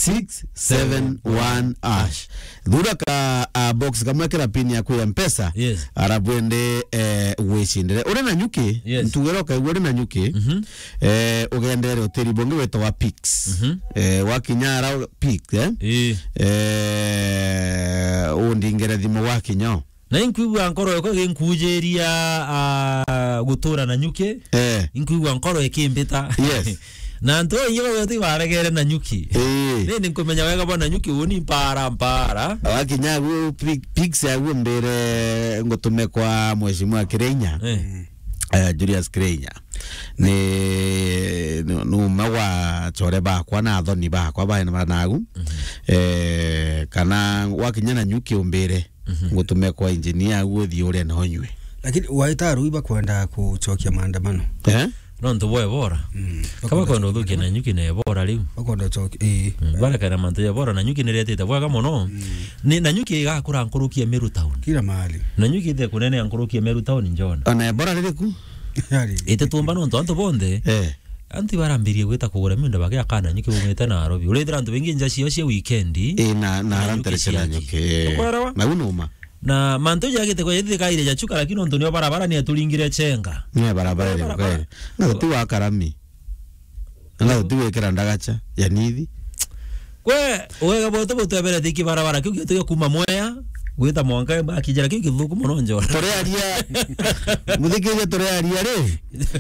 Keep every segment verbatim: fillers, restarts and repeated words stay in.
six seven one hash. Thura ka, ah, box kamwe, kira pin yaku ya Mpesa. Yes. Arabu ende, eh, wicindire. Uri na nyuki? Yes. Ntugire ukaigua uri na nyuki. Mhm. Eh, ugendere utiri bungi witagwa Pix. Mhm. Eh, wakinya ara Pix, eh? Ii. Eh, undingire thimu wakinya o. Na inkwigua nkoro yakwa iginkujiria, ah, gutura na nyuki. Eh. Inkwigua nkoro ikimbita. Yes. Na antu baingi bagwete ibaregere na nyuki. Eh. Ni, ni nkumenya wega bwa na nyuki uni mpara, mpara. Wakinya agu, pi-, Pix agu mbire ngutume kwa Mheshimiwa Kireinya. Eh. Eh, Julius Kireinya. Ni, ni, ni umwe wa achore bakwa na athoni bakwa baina banagu. Mhm. Eh, kana wakinya na nyuki umbire. Mhm. Ngutume kwa engineer agu uthii urie na unyue. Lakini waita arui bakwenda kucokia maandamano. Eh? Nontu bwa Ebola. Mm. Kaba kwenda uthukia na nyuki na Ebola riu. Bakwenda ucokia, ii. Mm, barekana mantu ya Ebola, na nyuki niretete bwega mono. Mm. Ni, na nyuki igakura nkuruki ya Meru town. Kila mahali. Na nyuki ite kunene ya nkuruki ya Meru town, John. Ona Ebola riri ku? Yari. Ite tumba nontu antu bonthe. Eh. Antu ibarambirie gwita kugura miunda bagiaka na nyuki bumite Nairobi. Urithira antu baingi nja ciao cia weekend. Ii, na, na nyuki aranterekera ciaki. Nyuki, eh. Ukwelewa? Na u numa. Na mantu jagite kwa jithikaire jachuka, lakini nontu nio barabara ni aturingire chenga. Ni barabara. Barabara. Ni kweli. Na tuti wa karami. Na tuti gwikira ndagacha ya nithi. Kwe, wega bwetu butweberete iki barabara kiu gituge kuma Mwea gwita mwanka bakijira kiu githuku mono, Njora. Turearia, muthikiria, turearia ri,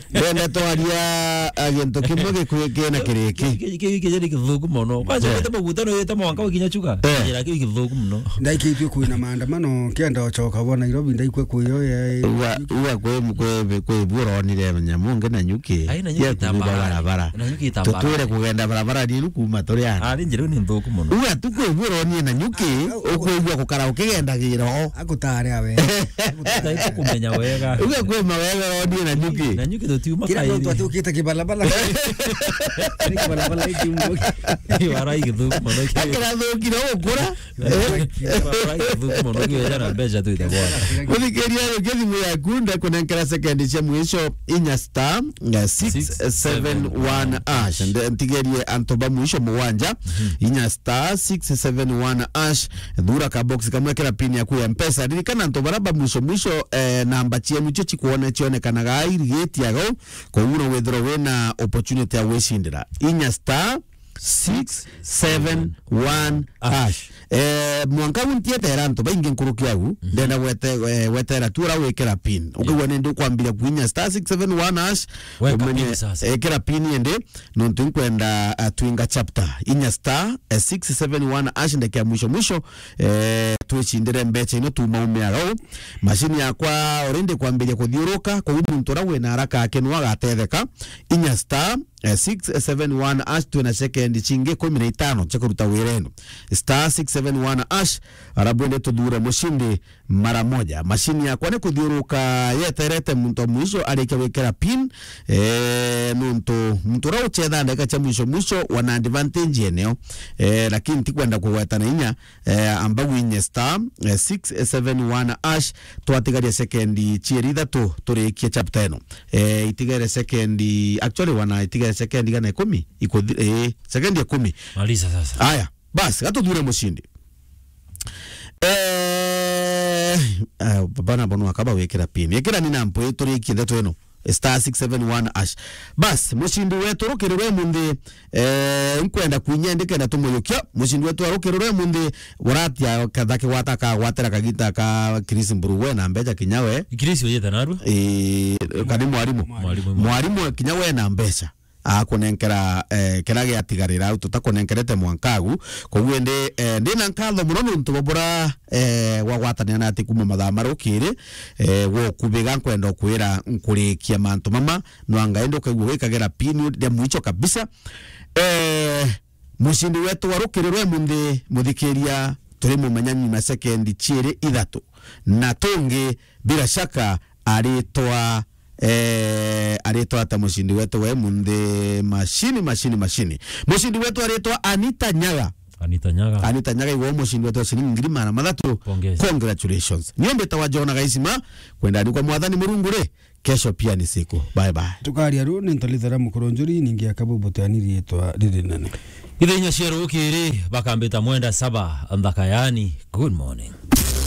ndenda twaria, ah, gintu kimwe gikwi-, kina kiriki. Ki-, ki-, ki-, kijiri githuku mono. Kwanza, eh, wite maguta no wite mwanka ukinya Chuka. Eh. Kijira kiu githuku mono. Ndaikitue kwina maandamano, kienda ucoka bo Nairobi, ndaikwe kuyo ya. Uga, uga kwi, kwi, kwi buronire nyamu ngi na nyuki. Ai, na nyuki ya kuuga itambara. Barabara. Na nyuki itambara. Tutwire kugenda barabara ni ru kuma turi ana. Ari njira ni nthuku mono. Uga tu kwi buronie na nyuki, ah, ukwigua gukara ukigendagira o. Agutare awe. Agutare. Kumenya wega. Uga kwi mawega ronie na nyuki. Na nyuki tutiuma. Kila kairi. Muntu ati ukite kibalabala. Ni kibalabala iki mbugi. Ni wara igithuku mono ki. Akira thukire gukura. Eh? Barabara igithuku mono, kiu ejana mbeca twite bwana. Muthikiria, yukia thimu yaku, ndekunenkera sekendi cia mwisho, inya star, eh, six seven one hash. Nde-, ntigerie antu ba mwisho mugwanja, mhm, inya star six seven one hash. Thura ka box kamwe, kira pin yaku ya Mpesa. Ririkana antu bara ba mwisho mwisho, eh, namba cienu cio cikwone-, cionekanaga irigiti agau, koguo no withirwe wina opportunity ya gwicindira. Inya star six seven one hash. Eh, mwanka u ntietera antu baingi nkuruki au, mhm, ndenda gwete-, eh, gwetera tu ura wikira pin. Ukigua, yeah, nindi ukwambira kuinya star six seven one hash, weka umenye, pin sasa. Ekira pin indi, nontu nkwenda, ah, twinga chapter. Inya star, eh, six seven one hash, ndeke ya mwisho mwisho, eh, twicindire mbecha ino tumaumia au. Mashini yakwa already kwambiria kuthiuruka, koguo muntu ura wina haraka ake no agatetheka. Inya star, eh, six seven one hash, twina sekendi cingi ikumi na itano cia kuruta wira ino. Star six seven one hash, arabu ende tuthure mucindi mara moja. Mashini yakwa ni kuthiuruka yeterete muntu wa mwisho arikia gwikira pin, eh, nontu muntu uria uchetha ndagika cia mwisho mwisho wana advantage eneo. Eh, lakini tikwenda kugweta na inya, eh, amba gwinye star, eh, six seven one hash, twatigaria sekendi cieri ithatu turikie chapter ino. Eh, itigere sekendi, actually, wana itigere sekendi gana ikumi, ikuthi-, eh, sekendi ikumi. Maliza sasa. Aya, bas, gatuthure mucindi. Eh, ah, baba na bono akaba wikira pin. Ikira ni na mpwi turikie ndeto ino. Star six seven one hash. Bas, mucindi wetu rukirirwe munthi, eh, nkwenda kwinya ndikenda tumuyukia. Mucindi wetu arukirirwe munthi, buratia kathaki gwata kagwatira kagita ka Chris Mburuwe na mbecha kinya we. Chris uyeta narua? Eh, kani mwarimu. Mwarimu. Mwarimu kinya we na mbecha. Akunenkera, eh, kira giatigarira au tutakunenkerete mwanka agu. Koguo ndi, eh, ndina nkatho muno nontu bwa bura, eh, gwagwatanira na ati kuma mathaa marukiri, eh, gwa ukubiga nkwenda ukwira nkurikia mantu mama, nwanga indi ukaigua wikagira pin ria mwicho kabisa. Eh, mucindi wetu wa rukirirwe munthi, muthikiria, turi mumenya nyuma sekendi ciiri ithatu. Na tungi, bila shaka, aritwa, eh, aritwa ata mucindi wetu we munthi? Mashini, mashini, mashini. Mucindi wetu aritwa Anita Nyaga. Anita Nyaga. Anita Nyaga, iwe mucindi wetu wa ciringi ngiri magana mathatu. Pongezi. Congratulations. Nio mbitawa Jona Gaisima, kwenda ni kwa Mwathani Murungu ri, kesho pia ni siku. Bye bye. Tukaria ru ni ntolithera mukuru njuri, ningi akabu butiani riitwa riri nene. Ithenya cia rukiri bakambita mwenda saba nthaka yani. Good morning.